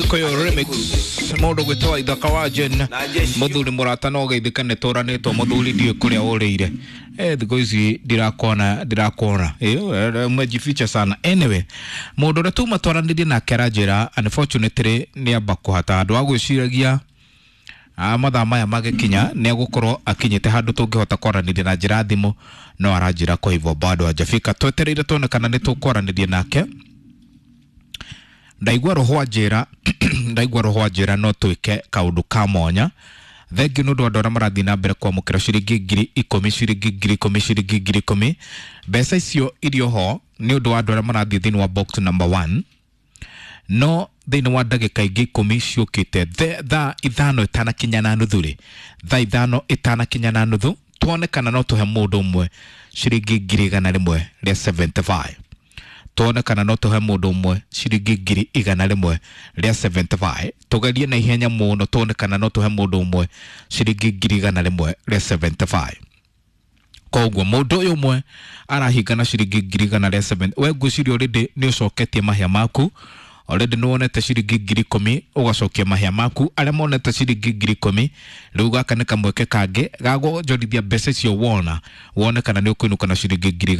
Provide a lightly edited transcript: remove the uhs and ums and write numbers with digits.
Gikuyu remix mundu gwitwo Ithaka wa Jen muthuri murata no geithike nĩ tũranĩtwo muthuri ndiũĩ kũrĩa ũrĩire. Thikũ ici ndirakuona ndirakuona, umejificha sana. Anyway, mũndũ ũrĩa tuma twaranĩrie nake aranjĩra unfortunately nĩ amba kũhata andũ a gwĩciragia mathaa maya magĩkinya nĩ egũkorwo akinyĩte handũ tũngĩhota kwaranĩria na njĩra ya thimũ, no aranjĩra kwa hivyo bado hajafika. Twetereire tuone kana nĩ tũkwaranĩria nake. Ndaigua roho anjĩra, ndaigua roho anjĩra no twĩke kaũndũ ka mwanya. Thengiũ nĩ ũndũ wa andũ arĩa marathiĩ na mbere kwamũkĩra ciringi 10,000, ciringi 10,000, ciringi 10,000. Mbeca icio irio ho nĩ ũndũ wa andũ arĩa marathiĩ thĩinĩ wa box number 1, no thĩinĩ wa ndagĩka ingĩ 10 ciũkĩte, thaa 5 ĩtanakinya na nuthu rĩ, thaa 5 ĩtanakinya na nuthu, tuone kana no tũhe mũndũ ũmwe ciringi 175,000. Tuone kana no tũhe mũndũ ũmwe ciringi 175,000. Tũgerie na ihenya mũno tuone kana no tũhe mũndũ ũmwe ciringi 175,000. Koguo mũndũ ũyũ ũmwe arahinga na ciringi 107,000. We ngwĩciria already nĩ ũcoketie mahĩa maku, already nĩ wonete ciringi 10,000 ũgacokia mahĩa maku. Arĩa monete ciringi 10,000, rĩu gaka nĩ kamweke kangĩ ga kũnjorithia mbeca icio wona, wone kana nĩ ũkũinũka na ciringi ngiri